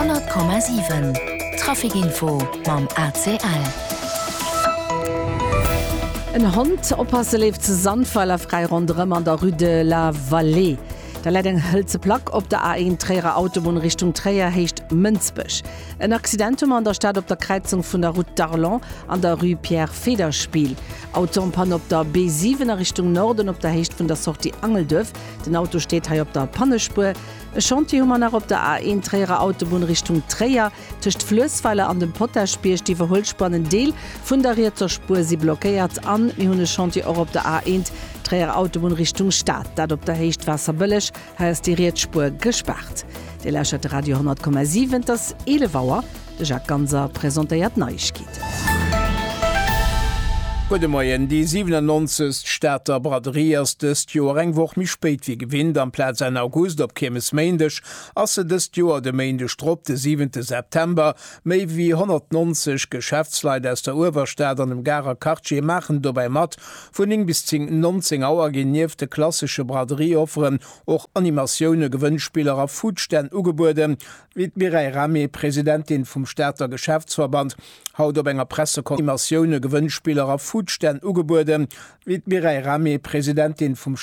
100,7 Trafic Info mam ACL. En Hond oppasse leeft zu Sandweiler fräi ronderëm an der Rue de la Vallée. Da läit eng hëlze Plack op der A1 Tréierer Autobunn Richtung Tréier, Héicht Mënsbech. En Accident hu mer an der Stad op der Kräizung vun der Route d'Arlon an der Rue Pierre Federspiel. Auto en panne op der B7 a Richtung Norden op der Héicht vun der Sortie Angelduerf. Den Auto steet hei op der Pannespuer. E Chantier hu mer nach op der A1 Tréierer Autobunn Richtung Tréier, tëscht Fluessweiler an dem Potaschbierg. D'Iwwerhuelspuer an en Deel vun der rietser Spuer si blockéiert. An mir hunn e Chantier och op der A1 Tréierer Autobunn Richtung Stad, dat op der Héicht Waasserbëlleg. Hei ass déi riets Spuer gespaart. Dir lauschtert de Radio 100,7. Et ass 11 Auer. De Jacques Ganser presentéiert d'Neiegkeeten. Gudde Moien. Déi 97. Stater Braderie ass dëst Joer eng Woch méi spéit wéi gewinnt. Amplaz Enn August op Kiermesméindeg ass se dëst Joer de Méindeg drop, de siwente September. Méi wéi 190 Geschäftsleit aus der Uewerstad an dem Garer Quartier maachen dobäi mat. Vun 9 bis 10, 19 Auer ginn nieft de klassesche Braderie-Offeren och Animatioune, Gewënnspiller a Foodstänn ugebueden. Wéi d'Mireille Rahmé, Presidentin vum Stater Geschäftsverband, haut op enger Pressekonferenz Animatioune, Gewënnspiller a Foodstänn ugebueden. Wéi d'Mireille Rahmé, Presidentin vum.